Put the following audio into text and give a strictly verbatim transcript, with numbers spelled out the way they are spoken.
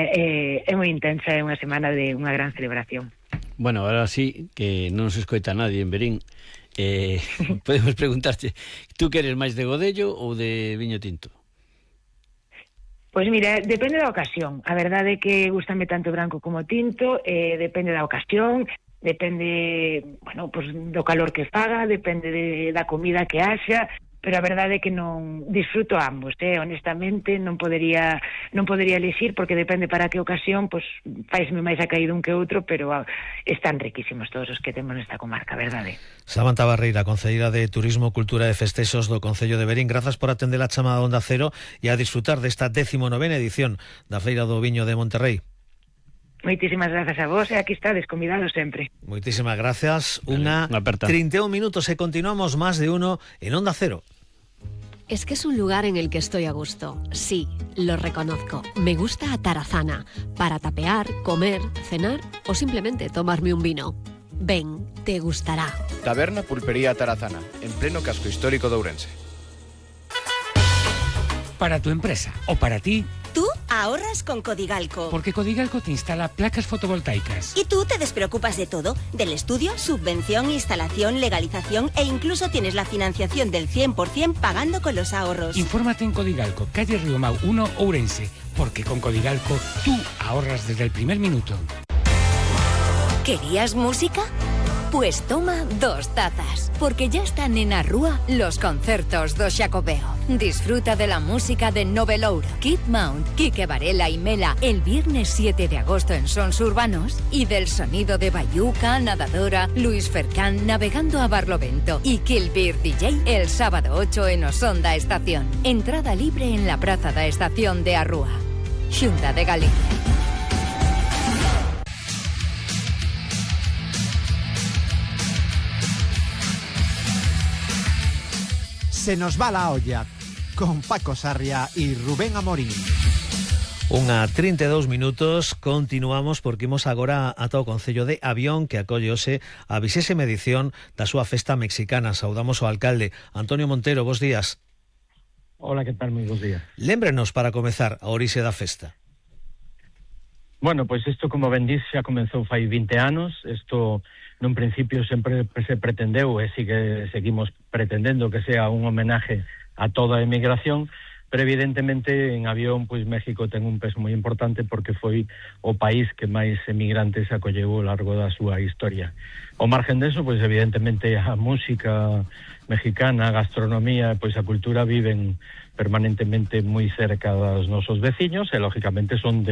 semana é, é moi intensa, é unha semana de unha gran celebración. Bueno, ahora sí, que non se escoita nadie en Verín, eh, podemos preguntarte, tú que eres máis de godello ou de viño tinto? Pois mira, depende da ocasión. A verdade é que gustame tanto branco como tinto, eh, depende da ocasión, depende, bueno, pues, do calor que faga, depende de, da comida que haxa, pero a verdade é que non disfruto ambos, eh? Honestamente non podería non podería elixir, porque depende para que ocasión, pois faisme máis acaído un que outro, pero ah, están riquísimos todos os que temos nesta comarca, verdade. Samantha Barreira, concelleira de Turismo, Cultura e Festexos do Concello de Verín, grazas por atender a chamada Onda Cero e a disfrutar desta décimo novena edición da Feira do Viño de Monterrey. Moitísimas grazas a vos e aquí estades convidados sempre. Moitísimas gracias. Unha treinta e un minutos e continuamos más de uno en Onda Cero. Es que es un lugar en el que estoy a gusto. Sí, lo reconozco. Me gusta Atarazana. Para tapear, comer, cenar o simplemente tomarme un vino. Ven, te gustará. Taberna Pulpería Atarazana, en pleno casco histórico de Ourense. Para tu empresa o para ti, tú ahorras con Codigalco. Porque Codigalco te instala placas fotovoltaicas. Y tú te despreocupas de todo, del estudio, subvención, instalación, legalización e incluso tienes la financiación del cien por ciento pagando con los ahorros. Infórmate en Codigalco, calle Riomau uno, Ourense. Porque con Codigalco tú ahorras desde el primer minuto. ¿Querías música? Pues toma dos tazas, porque ya están en Arrúa los concertos do Xacobeo. Disfruta de la música de Novelouro, Kid Mount, Quique Varela y Mela el viernes siete de agosto en Sons Urbanos y del sonido de Bayuca, Nadadora, Luis Fercán navegando a Barlovento y Kill Beer D J el sábado ocho en Osonda Estación. Entrada libre en la Praza da Estación de Arrúa. Xunta de Galicia. Se nos va la olla, con Paco Sarria y Rubén Amorín. Unha trinta e dous minutos, continuamos porque imos agora ata o Concello de Avión, que acolle hoxe a vixésima edición da súa festa mexicana. Saudamos ao alcalde Antonio Montero, bos días. Hola, que tal? Moi bos días. Lémbrenos para comezar a orixe da festa. Bueno, pois pues isto, como ben dís, xa comenzou fai vinte anos. Isto, nun principio, sempre se pretendeu e sigue seguimos pretendendo que sea un homenaje a toda a emigración, pero evidentemente en Avión, pois México ten un peso moi importante porque foi o país que máis emigrantes acolleu ao largo da súa historia. Ao margen deso, pois evidentemente a música mexicana, a gastronomía, pois a cultura viven permanentemente moi cerca dos nosos veciños e lógicamente son de